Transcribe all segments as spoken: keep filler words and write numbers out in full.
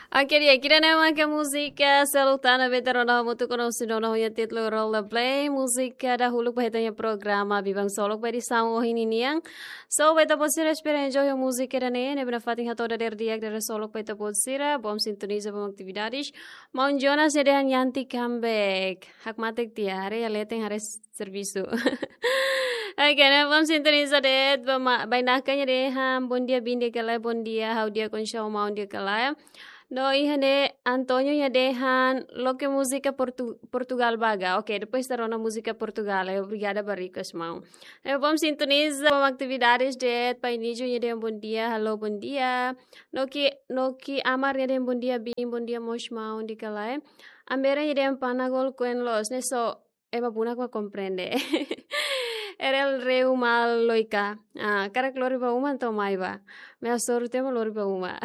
Oke, di'ak, ida-ne'e mak múzika Seluk Tan ne'ebé ita rona hamutuk ho nosudona ho nia títulu Rollerblade, múzika dahuluk ba ita-nia programa Biban Solok ba edisaun ohin ninian. So, ba ita-boot sira espera enjoy ho múzika ida-ne'e, ne'ebé nafatin hato'o dadeer di'ak, dadeer solok ba ita-boot sira, bom sintoniza, bom atividades. Maun Jonas nia dehan Yanti comeback. Hakmatek tiha, haree iha leten, haree servisu. Oke, ne'e bom sintoniza de'it, ba ma-, bainaka nia dehan, bom dia Bin di'ak ka lae, bom dia, ha'u di'ak, oinsá maun, di'ak ka lae. No iha ne'e António nia dehan, loke múzika Portu-, Portugal ba ga. Oke, depois ita rona múzika Portugal, eh, obrigada ba request maun. Ne'e bom sintoniza, bom atividades de'it, Pai Nijo nia dehan bom dia, halo bom dia. Noki, Noki Amar nia dehan bom dia Bin, bom dia mós maun, di'ak ka lae. Ambere nia dehan Panagol koen loos, ne'e só ema bunak mak komprende. Erel Reu Mal Loika. Ah, karik lori ba uma entaun mai ba. Mai hasoru tiha mak lori ba uma.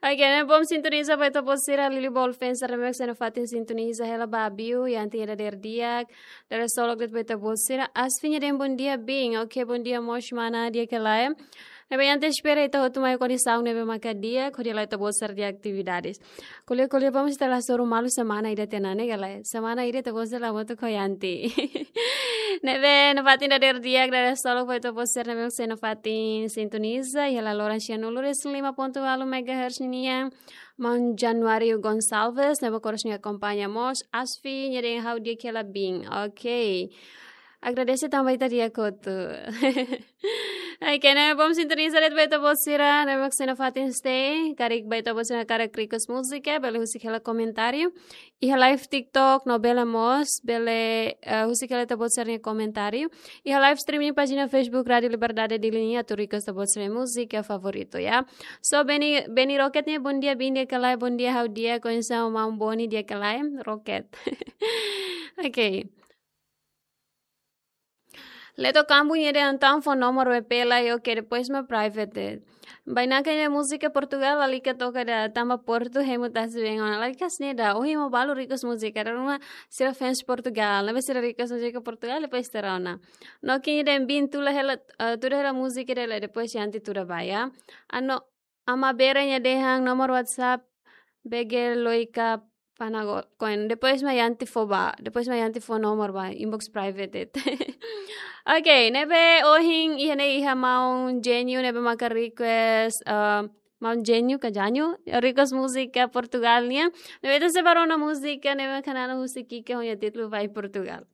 Oke, ne'e bom sintoniza ba ita-boot sira, Lili Ball Fans, remix ena fatin sintoniza hela ba Abiu, Yanti nia dadeer di'ak, dadeer solok de'it ba ita-boot sira, Asfi nia dehan bom dia Bin, oke, bom dia mós mana, di'ak ka lae. Ne'ebé Yanti espera ita hotu mai kondisaun ne'ebé maka di'ak, hodi halo ita-boot sira-nia atividades. Ko'alia, ko'alia, vamos ita la hasoru malu semana ida tiha ona ne'e ka lae. Semana ida ita-boot sira la hamutuk ho Yanti. Ne'ebé nafatin dadeer di'ak, dadeer solok ba ita-boot sira ne'ebé mak sei nafatin sintoniza, iha laloran sianulu resin lima pontu ualu megahertz ninian. Maun Januário Gonçalves, ne'ebé koros nia akompaña mós, Asfi nia dehan ha'u di'ak hela Bin. Oke. Agradese tanba ita di'ak hotu. Oke, ne'e bom sintoniza de'it ba ita-boot sira ne'ebé mak sei nafatin stay. Karik ba ita-boot sira hakarak request múzika, bele husik hela komentáriu. Iha live TikTok, no bele mós, bele, eh, husik hela ita-boot sira-nia komentáriu. Iha live streaming pájina Facebook Rádio Liberdade Dili nian, atu request ita-boot sira-nia múzika favoritu, ya. So, Beni, Beni Rocket nia, bom dia Bin, di'ak ka lae, bom dia, ha'u di'ak, oinsá maun Boni, di'ak ka lae, Rocket. Oke. Leto Kambu nia dehan entaun fó nomor W P lai, oke, depois mak private de'it. Bainaka nia múzika Portugal, lalika toka ida, tanba Portu hemu tasi-been ona. Lalika hanesan ne'e ida, ohin mak balu request múzika, dala ruma sira fans Portugal, ne'ebé sira request múzika Portugal, depois ita rona. Noki nia dehan Bin tuda hela, eh, tuda hela múzika ida lai, depois Yanti tuda ba, ya. Ano, Ama Bere nia dehan nomor WhatsApp, B G Loika Panagol koen. Depois mak Yanti fó ba, depois mak Yanti fó nomor ba, inbox private de'it. Oke, ne'ebé ohin iha ne'e iha maun Genio ne'ebé maka request, eh, maun Genio ka Janio, request múzika Portugal nian. Ne'ebé ita sei bá rona múzika ne'ebé maka nana husik ki'ik ho nia títulu Vai Portugal.